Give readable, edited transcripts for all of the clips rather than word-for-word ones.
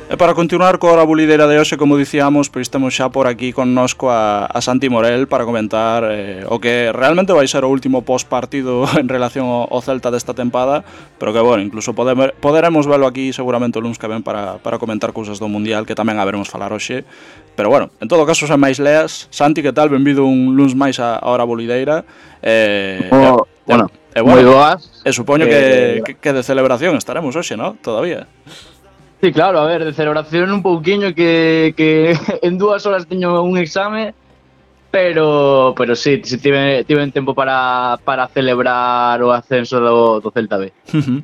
E para continuar coa hora bulideira de hoxe, como dicíamos, pois temos xa por aquí connosco a Santi Morel para comentar o que realmente vai ser o último post-partido en relación ao Celta desta tempada, pero que, bueno, incluso poderemos velo aquí seguramente o luns que ven para comentar cousas do Mundial, que tamén haberemos falar hoxe. Pero, bueno, en todo caso, sen máis leas, Santi, que tal? Benvido un luns máis a hora bulideira. Bueno, moi boas. E supoño que de celebración estaremos hoxe, ¿no? Todavía. Sí, claro, a ver, de celebración un pouquiño que en 2 horas teño un exame, pero sí tiven tempo para celebrar o ascenso do Celta B.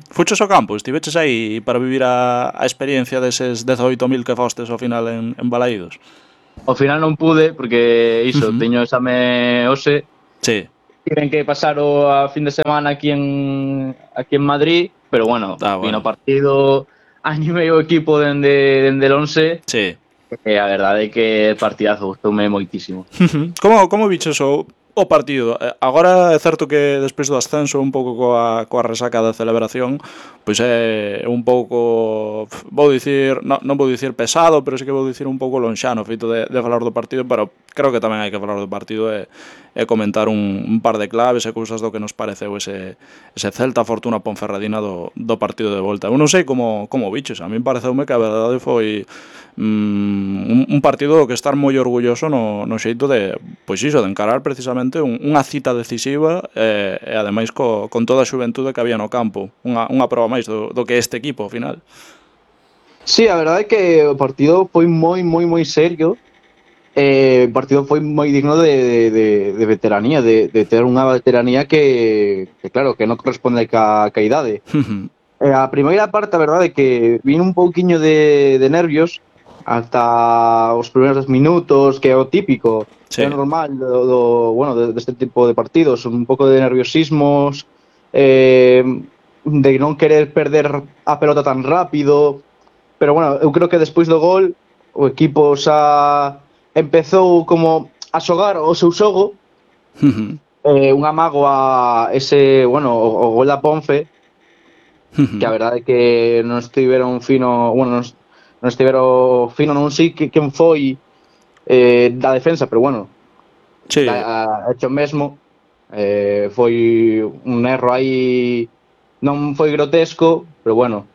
Fuches ao campo, estiveches aí para vivir a experiencia deses 18.000 que fostes ao final en Balaídos? Ao final non pude, porque teño exame hoxe. Sí. Tiven que pasar o fin de semana aquí en Madrid, pero bueno, vino partido, animei o equipo dende el 11. Sí. A verdade é que partidazo, gustoume moitísimo. Como biches o partido? Agora é certo que despois do ascenso, un pouco coa resaca da celebración, pois é un pouco, vou dicir, non vou dicir pesado, pero sí que vou dicir un pouco lonxano, feito de falar do partido, pero creo que tamén hai que falar do partido e comentar un par de claves e cousas do que nos pareceu ese Celta Fortuna Ponferradina do partido de volta. Eu non sei como biches, a mí pareceume que a verdade foi un partido do que estar moi orgulloso no xeito de, pois iso, de encarar precisamente unha cita decisiva e ademais con toda a xuventude que había no campo, unha proba máis do que este equipo ao final. Sí, a verdade é que o partido foi moi serio. O partido foi moi digno de veteranía, de ter unha veteranía que claro, que non corresponde ca idade. A primeira parte, a verdade é que vin un pouquiño de nervios ata os primeiros 10 minutos, que é o típico, é normal deste tipo de partidos, un pouco de nerviosismos, de non querer perder a pelota tan rápido, pero bueno, eu creo que despois do gol o equipo xa empezou como a xogar o seu xogo, un amago a ese, o gol da Ponfe, que a verdade é que non estiveron fino, non sei quen foi da defensa, pero bueno, sí. hecho mesmo, foi un erro aí, non foi grotesco, pero bueno,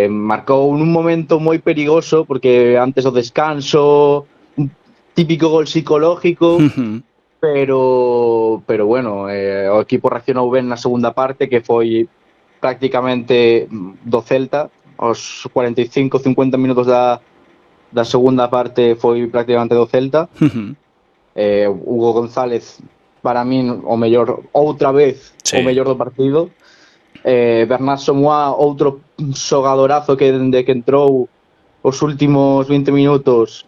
marcou nun momento moi perigoso, porque antes do descanso, un típico gol psicológico, pero bueno, o equipo reaccionou ben na segunda parte, que foi prácticamente do Celta. Os 45-50 minutos da segunda parte foi prácticamente do Celta. Hugo González, para min, o mellor, outra vez, o mellor do partido. Bernat Somoa, outro xogadorazo que dende que entrou os últimos 20 minutos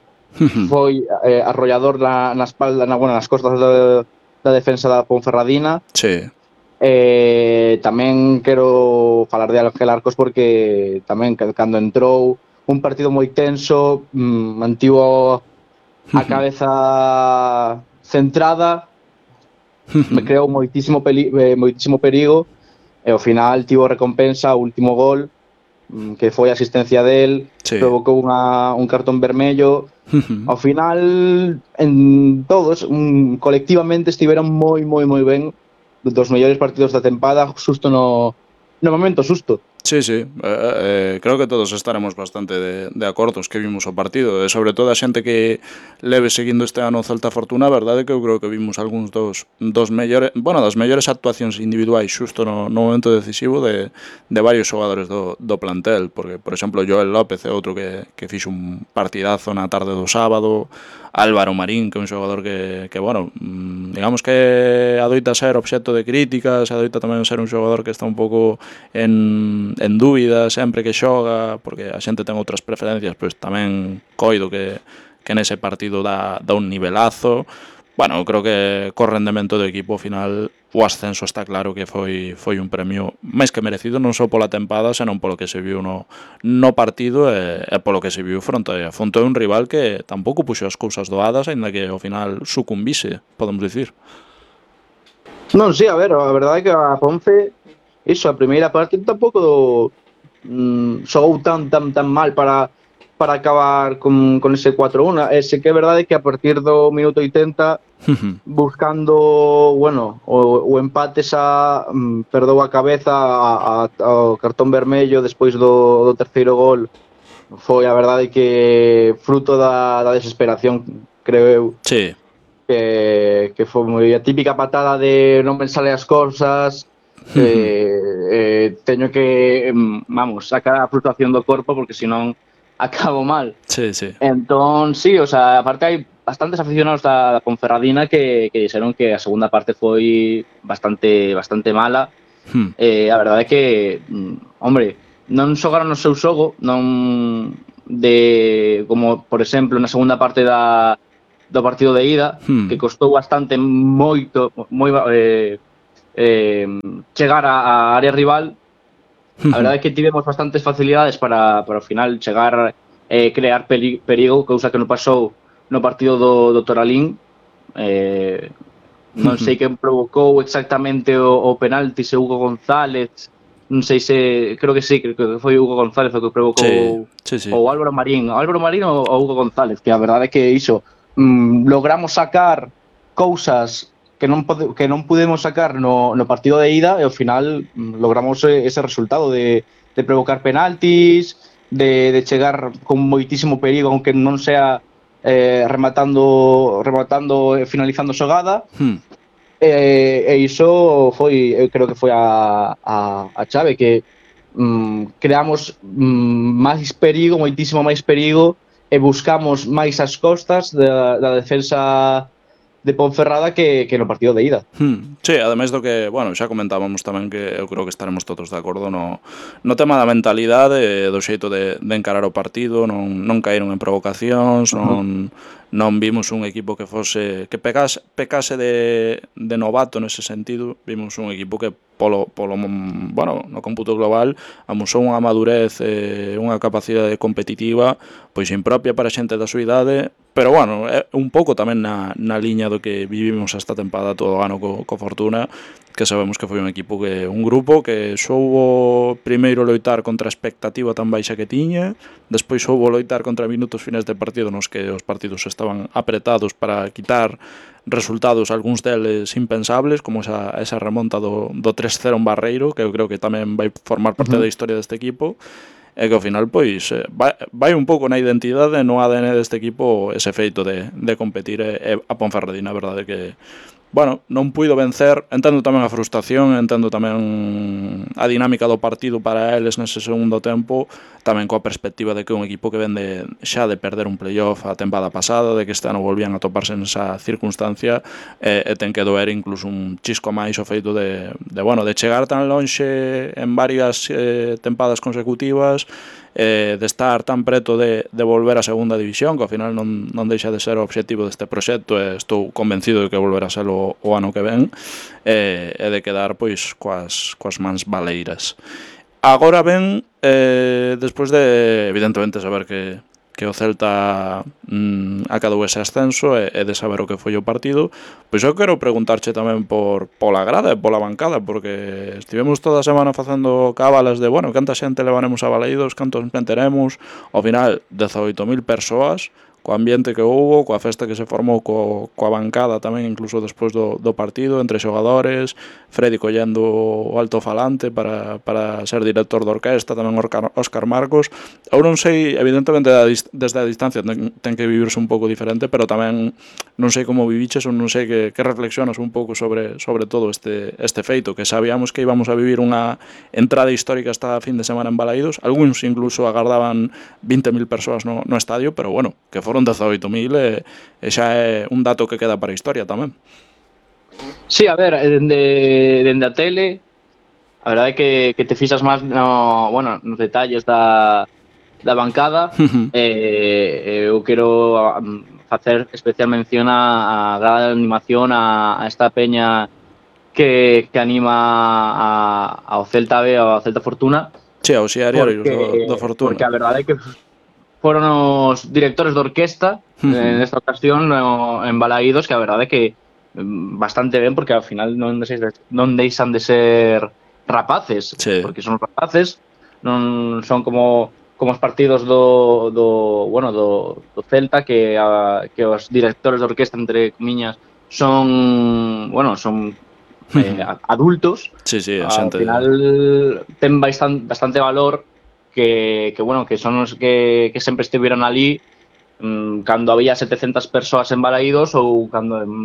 foi arrollador na espalda, nas costas da defensa da Ponferradina. Sí. Tamén quero falar de Ángel Arcos, porque tamén cando entrou un partido moi tenso, mantivo a cabeza centrada, me creou moitísimo perigo, e ao final tivo recompensa, o último gol, que foi a asistencia del, provocou un cartón vermello. Ao final, en todos, colectivamente estiveron moi ben, dos mellores partidos da tempada, xusto no momento xusto. Sí, creo que todos estaremos bastante de acordos que vimos o partido, e sobre todo a xente que leve seguindo este ano o Celta Fortuna, a verdade é que eu creo que vimos algúns dos mellores, das mellores actuacións individuais xusto no momento decisivo de varios xogadores do plantel, porque, por exemplo, Joel López é outro que fixo un partidazo na tarde do sábado, Álvaro Marín, que é un xogador que digamos que adoita ser obxecto de críticas, adoita tamén ser un xogador que está un pouco en dúbida sempre que xoga, porque a xente ten outras preferencias, pois tamén coido que nese partido dá un nivelazo. Bueno, creo que co rendemento do equipo ao final o ascenso está claro que foi un premio máis que merecido, non só pola tempada, senón polo que se viu no partido e polo que se viu fronte a un rival que tampouco puxo as cousas doadas, aínda que ao final sucumbise, podemos dicir. Non, sí, a ver, a verdade é que a Ponce, a primeira parte tampouco xogou tan mal para para acabar con ese 4-1. Sí que é verdade que a partir do minuto 80 buscando, bueno, o empate xa perdou a cabeza ao cartón vermello despois do terceiro gol. Foi a verdade que fruto da desesperación, creo eu. Sí. Que foi moi a típica patada de non me sale as cousas, teño que, vamos, sacar a flutuación do corpo porque senón acabo mal. Sí, sí. Entón, sí, o sea, aparte hai bastantes aficionados da Ponferradina que dixeron que a segunda parte foi bastante mala. A verdade é que, hombre, non xogaron o seu xogo, non de como, por exemplo, na segunda parte do partido de ida, que costou bastante chegar á área rival. A verdade é que tivemos bastantes facilidades para ao final chegar crear perigo, cousa que non pasou no partido do Toralín. Non sei quen provocou exactamente o penalti, se Hugo González, non sei se, creo que foi Hugo González o que provocou, sí. ou Álvaro Marín ou Hugo González, que a verdade é que iso, logramos sacar cousas que non pudemos sacar no partido de ida e ao final logramos ese resultado de provocar penaltis, de chegar con moitísimo perigo, aunque non sea rematando e finalizando xogada. E iso foi, eu creo que foi a chave, que creamos máis perigo, moitísimo máis perigo, e buscamos máis as costas da defensa de Ponferrada que no partido de ida. Sí, ademais do que, bueno, xa comentábamos tamén que eu creo que estaremos todos de acordo no tema da mentalidade, do xeito de encarar o partido, non caíron en provocacións, non vimos un equipo que fose que pecase de novato nese sentido. Vimos un equipo que polo bueno, no cómputo global amosou unha madurez, unha capacidade competitiva pois impropia para xente da súa idade, pero bueno, é un pouco tamén na liña do que vivimos esta tempada todo o ano co Fortuna, que sabemos que foi un equipo un grupo que soubo primeiro loitar contra a expectativa tan baixa que tiña, despois soubo loitar contra minutos finais de partido nos que os partidos estaban apretados para quitar resultados, algúns deles impensables, como esa remonta do 3-0 en Barreiro, que eu creo que tamén vai formar parte da historia deste equipo, e que ao final pois vai un pouco na identidade, no ADN deste equipo, ese feito de competir. E a Ponferradina, a verdade que, bueno, non puido vencer. Entendo tamén a frustración, entendo tamén a dinámica do partido para eles nese segundo tempo, tamén coa perspectiva de que un equipo que vende xa de perder un playoff a tempada pasada, de que este ano volvían a toparse nesa circunstancia, e ten que doer incluso un chisco máis o feito de chegar tan lonxe en varias tempadas consecutivas, de estar tan preto de volver a segunda división, que ao final non deixa de ser o obxectivo deste proxecto, e estou convencido de que volverá a ser o ano que ven, e de quedar pois coas mans baleiras. Agora ben, despois de evidentemente saber que o Celta acadou ese ascenso e de saber o que foi o partido, pois eu quero preguntarche tamén pola grada e pola bancada, porque estivemos toda a semana facendo cábalas de, bueno, canta xente levaremos a Baleidos, cantos meteremos, ao final 18.000 persoas, co ambiente que houbo, coa festa que se formou coa bancada tamén, incluso despois do partido, entre xogadores, Freddy collendo o altofalante para ser director de orquesta, tamén Óscar Marcos. Eu non sei, evidentemente desde a distancia ten que vivirse un pouco diferente, pero tamén non sei como viviches, ou non sei que reflexionas un pouco sobre todo este feito, que sabíamos que íbamos a vivir unha entrada histórica esta fin de semana en Balaídos. Algúns incluso agardaban 20.000 persoas no estadio, pero bueno, que foron 18.000 e xa é un dato que queda para a historia tamén. Sí, a ver, dende a tele, a verdade é que te fixas máis nos detalles da bancada. Eu quero facer especial mención a grada de animación, a esta peña que anima ao Celta B, ao Celta Fortuna. Sí, ao Xiariarios do Fortuna. Porque a verdade é que foron os directores de orquesta nesta ocasión en Balaídos, que a verdade é que bastante ben, porque ao final non deixan de ser rapaces, sí. Porque son rapaces, non son como como os partidos do Celta, que os directores de orquesta, entre comiñas, son adultos. Sí, sí, a Ao xente... final ten bastante valor que son os que sempre estiveron ali cando había 700 persoas en Balaídos ou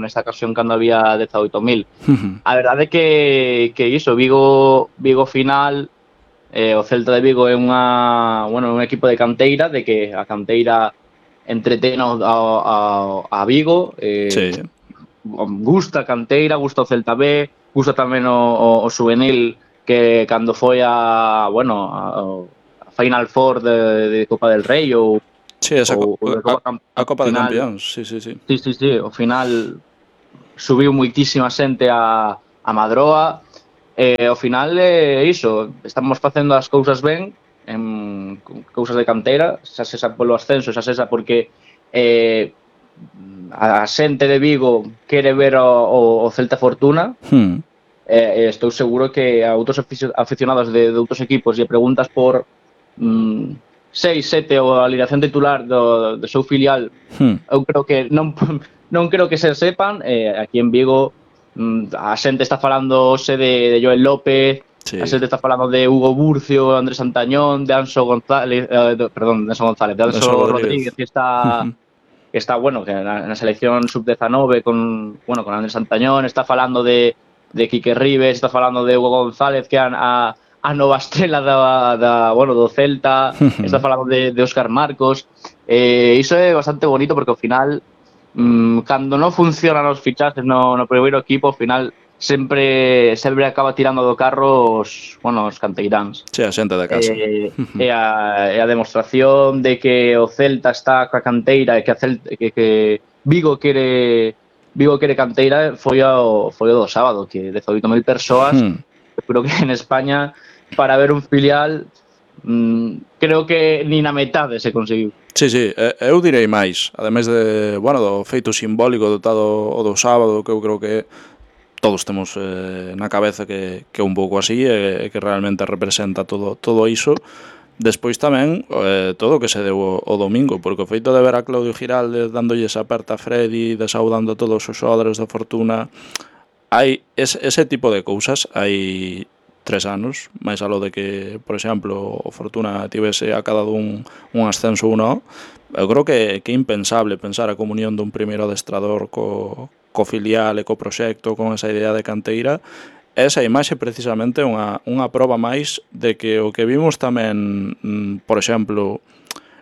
nesta ocasión cando había 18.000. A verdade é que iso, Vigo final, o Celta de Vigo é un equipo de canteira, de que a canteira entretén a Vigo, Sí. gusta a canteira, gusta o Celta B, gusta tamén o juvenil, que cando foi a Final Four de Copa del Rei ou Sí, esa de Copa de final, Campeóns, sí. Sí, ao final subiu moitísima xente a Madroa. Ao final iso, estamos facendo as cousas ben, en cousas de canteira, xa sexa polo ascenso, xa sexa porque a xente de Vigo quere ver o Celta Fortuna. Estou seguro que a outros aficionados de outros equipos lle preguntas por 6, 7 ou a alineación titular do seu filial, eu creo que non creo que se sepan. Aquí en Vigo a xente está falando hoxe de Joel López, Sí. a xente está falando de Hugo Burcio, Andrés Antañón, de Anso González, de Anso Rodríguez, que está que na selección sub-19 con Andrés Antañón, está falando de Quique Rives, está falando de Hugo González, que a nova estrela do Celta, está falando de Óscar Marcos. Iso é bastante bonito porque ao final cando non funcionan os fichajes no primeiro equipo, ao final sempre acaba tirando do carro os canteiráns. Sí, a xente de casa. É a demostración de que o Celta está coa canteira e que Vigo quere canteira foi o do sábado, que 18.000 persoas. Creo que en España, para ver un filial, creo que ni na metade se conseguiu. Sí, eu direi máis, ademais do feito simbólico o do sábado, que eu creo que todos temos na cabeza que é un pouco así e que realmente representa todo iso. Despois tamén todo o que se deu o domingo, porque o feito de ver a Claudio Giraldes dándolle esa aperta a Freddy, desaudando a todos os xogadores da Fortuna, hai ese tipo de cousas. Hai 3 anos, máis aló de que, por exemplo, o Fortuna tivese acadado un ascenso ou non, eu creo que é impensable pensar a comunión dun primeiro adestrador co filial e co proxecto, con esa idea de canteira. Esa imaxe precisamente é unha proba máis de que o que vimos tamén, por exemplo,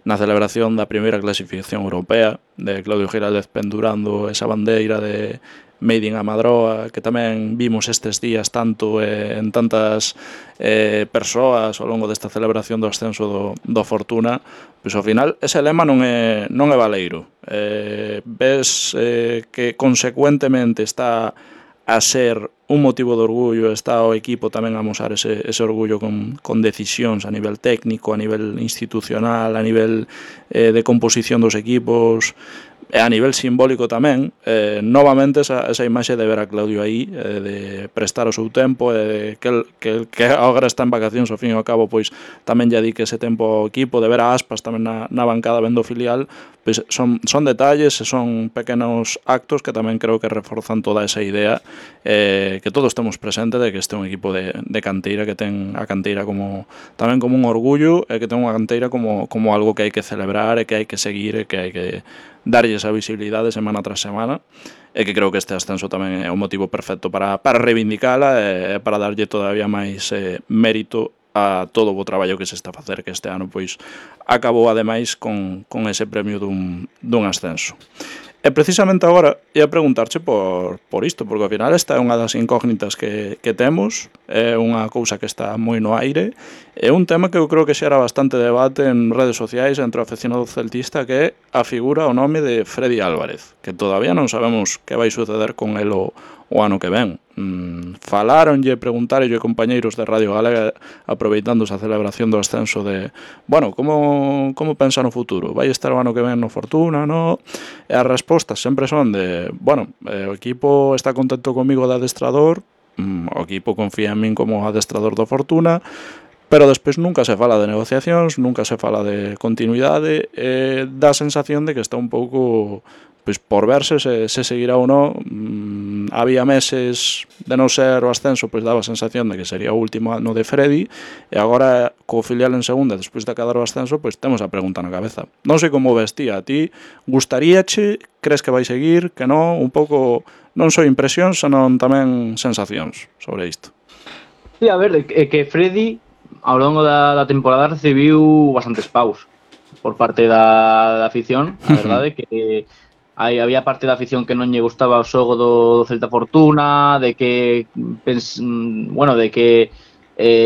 na celebración da primeira clasificación europea, de Claudio Giraldez pendurando esa bandeira de Made in Amadroa, que tamén vimos estes días tanto en tantas persoas ao longo desta celebración do ascenso do Fortuna, pois ao final ese lema non é baleiro. Ves que consecuentemente está a ser un motivo de orgullo, está o equipo tamén a mostrar ese orgullo con decisións a nivel técnico, a nivel institucional, a nivel de composición dos equipos, e a nivel simbólico tamén. Novamente esa imaxe de ver a Claudio aí, de prestar o seu tempo, que agora está en vacacións, ao fin e ao cabo, pois tamén lle dedique ese tempo ao equipo, de ver a Aspas tamén na bancada vendo o filial, pois son detalles e son pequenos actos que tamén creo que reforzan toda esa idea, que todos temos presente de que este é un equipo de canteira, que ten a canteira tamén como un orgullo, e que ten unha canteira como algo que hai que celebrar e que hai que seguir e que hai que darlle esa visibilidade semana tras semana, e que creo que este ascenso tamén é un motivo perfecto para reivindicala e para darlle todavía máis mérito a todo o traballo que se está a facer, que este ano pois acabou ademais con ese premio dun ascenso. E precisamente agora ia preguntarche por isto, porque ao final esta é unha das incógnitas que temos, é unha cousa que está moi no aire, é un tema que eu creo que xera bastante debate en redes sociais entre o aficionado celtista, que é a figura, o nome de Freddy Álvarez, que todavía non sabemos que vai suceder con el o ano que ven. Falaronlle, preguntaronlle compañeiros de Radio Galega aproveitando esa celebración do ascenso de como pensa no futuro, vai estar o ano que ven no Fortuna, no? E as respostas sempre son de o equipo está contento comigo de adestrador, o equipo confía en min como adestrador do Fortuna, pero despois nunca se fala de negociacións, nunca se fala de continuidade, dá a sensación de que está un pouco pois por verse se seguirá ou non. Había meses de non ser o ascenso, pois daba a sensación de que sería o último ano de Freddy, e agora co filial en segunda, despois de acadar o ascenso, pois temos a pregunta na cabeza. Non sei como vestía a ti, gustaríache, crees que vai seguir, que non, un pouco, non só impresións, senón tamén sensacións sobre isto. Sí, a ver, que Freddy ao longo da temporada recibiu bastantes paus por parte da afición, a verdade que había parte da afición que non lle gustaba o xogo do Celta Fortuna, de que de que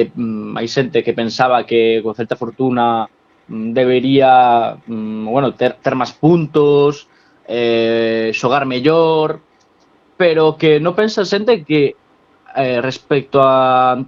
hai xente que pensaba que o Celta Fortuna debería ter máis puntos, xogar mellor, pero que non pensa xente que respecto a